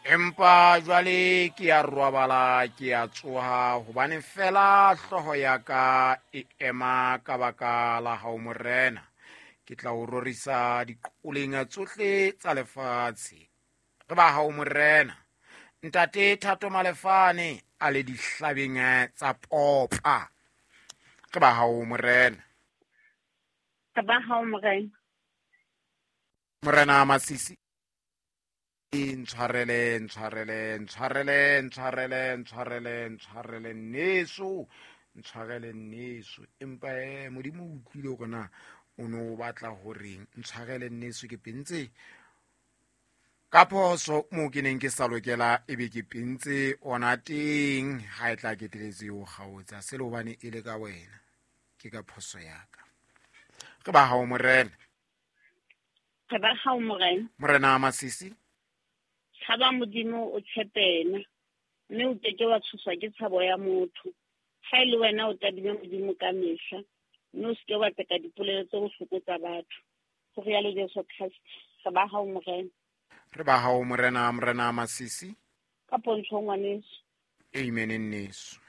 Empa jwale ke a robala, ke a tsoha, hobane fela hlooho ya ka e ema ka baka la hao, Morena. Ke tla o rorisa diqoleng tsohle tsa lefatshe. Re ba hao, Morena. Ntate Thato Malefane a le dihlabeng tsa popa. Re ba hao, Morena. Re ba hao, Morena. Morena Masisi, ntshwarele, ntshwarele, ntshwarele, ntshwarele, ntshwarele, ntshwarele nneso, ntshwarele nneso. Empa Modimo o utlwile hore na o no o batla horeng. Ntshwarele nneso, ke pentse ka phoso moo ke neng ke sa lokela, ebe ke pentse ona teng. Ha e tla keteletse o kgaotsa se le hobane e le ka wena, ke ka phoso ya ka. Re ba hao, Morena. Re ba hao, Morena. Morena Masisi, tshaba Modimo, o tshepena, mme o keke wa tshoswa ke tshabo ya motho. Ha e le wena, o tadime Modimo ka mehla, mme o seke wa tseka dipolelo tse bohloko tsa batho. Ho rialo Jesu Kreste. Re ba hao, Morena. Re ba hao, Morena. Morena Masisi, ka pontsho, ngwaneso. Amen, nneso.